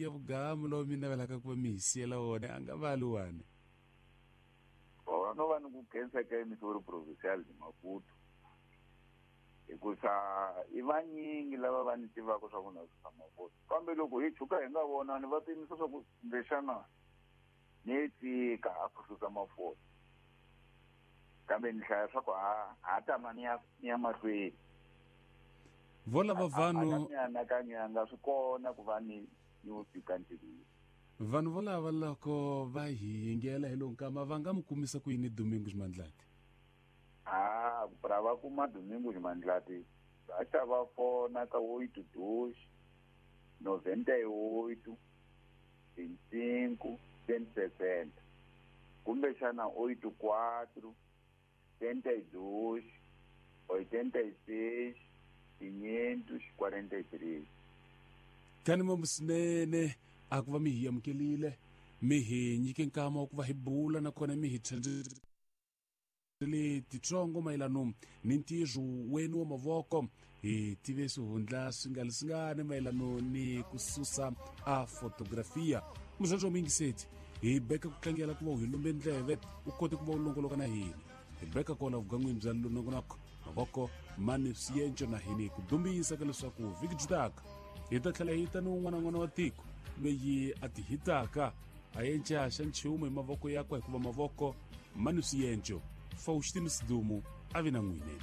Ya vugamu lowu mi navelaka ku va mi hi siyela wona a nga va luwani. O no va ni ku khensa ka emisori provincial de Maputo hikusa i vanyingi lava va ni tivaka swa ku na susa mapoto, kambe loko hi tshuka hi nga vonani va pimisa swa ku kumbexana ni yi tshika a ku susa mafoto, kambe ni hlaya swa ku ha ha tama ni ya ni ya mahlweni. Vo lava vanhu mianakanyo ya nga swi kona ku va ni ni wu tshika ntirhweni. Vanhu volava loko va hi yingela hi lowu nkama va nga mi kumisa ku yini Domingos Mandlati? A pra va kuma Domingos Mandlati va ta va fona ka 82 98 25 160, kumbexana 84 32 86 543. Kani mambu swinene a ku va mi hi amukelile, mi hi nyike nkama wa ku va hi bula, nakona mi hi tshembisile titsongo mayelano ni ntirho wenu wa mavoko. Hi tive swihundla swi nga leswingani mayelano ni ku susa a fotografia. Muzvandzwa wa muyingiseti, hi beka ku tlangela ku va u hi lumbe ndleve, u kote ku va u longoloka na hina. Hi beka kona vugan'wini bya lonongonoko mavoko mani swienco na hini ku dumbisa ka leswaku vhiki byi taka hi ta tlhela hi ta ni un'wana n'wana wa tiko loyi a ti hitaka a enca xa nchumu hi mavoko yakwe, hikuva mavoko mani swienco. Faustino Sidumo a vi na n'wini.